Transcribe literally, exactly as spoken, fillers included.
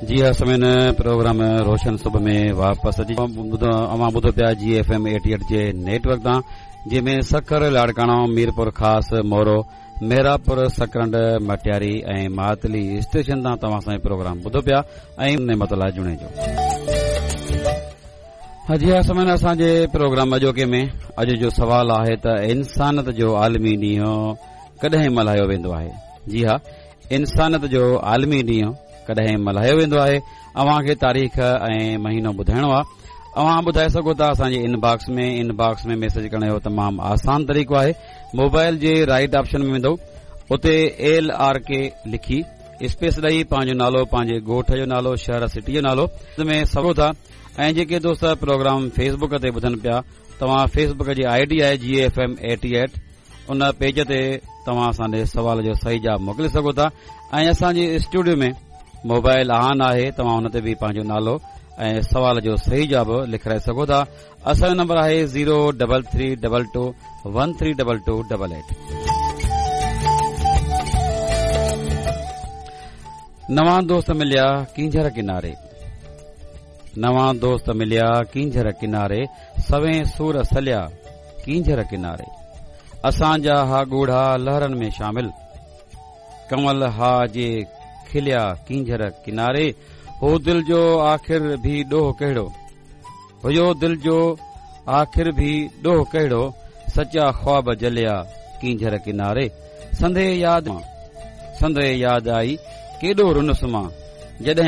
جي ها سامعين، پروگرام روشن صبح ۾ واپس اچي اوهان ٻڌو پيا جي ايف ايم ايٽي ايٽ جي نيٽ ورڪ تان، جنهن ۾ سکر، لاڙڪاڻو، ميرپور خاص، مورو، ميراپور، سڪرنڊ، مٽياري ۽ ماتلي اسٽيشن تان توهان سان پروگرام ٻڌو پيا ۽ نعمت الله جوڻيجو. جي ها سامعين، اسان جي پروگرام اڄوڪي ۾ اڄ جو سوال آهي ته انسانيت جو عالمي ڏينهن ڪڏهن ملهايو ويندو آهي؟ جي ها، انسانيت جو عالمي ڏينهن ڪڏهن ملهايو ويندو آهي؟ اوهان کي تاريخ ۽ مهينو ٻڌائڻو آهي. اوهان ٻڌائي سگهو ٿا اسان جي ان باڪس ۾. ان باڪس ۾ ميسيج ڪرڻ جو تمام آسان طريقو آهي. موبائل جي رائٽ آپشن ۾ ويندو، اتي ايل آر ڪي لکي اسپيس ڏئي پنهنجو نالو، پنهنجي ڳوٺ جو نالو، شهر سٽي جو نالو ۾ سگهو ٿا. ۽ جيڪي دوست پروگرام فيسبڪ تي ٻڌن پيا، توهان فيسبڪ جي I D آهي جي ايف ايم ايٽي ايٽ، ان پيج تي توهان اسان ڏي سوال جو صحيح جواب موڪلي سگهو ٿا. ۽ اسان جي اسٽوڊيو ۾ موبائل آن آهي، توهان ان تي به پنهنجو نالو ۽ سوال جو صحيح جواب لکرائي سگهو ٿا. اسان جو نمبر آهي zero double three double two one three double two double eight. نوان دوست مليا ڪينجهر ڪناري، نوان دوست مليا ڪينجهر ڪناري، سوين سور سليا ڪينجهر ڪناري. اسان جا ها ڳوڙها لهرن ۾ شامل، ڪنول ها جي کليا ڪينجهر ڪناري. هو دل جو آخر ڀي ڏوهه ڪهڙو، هيو دل جو آخر ڀي ڏوهه ڪهڙو، سچا خواب جليا ڪينجهر ڪناري. سندي ياد، سندي ياد آئي ڪيڏو رنس مان جڏهن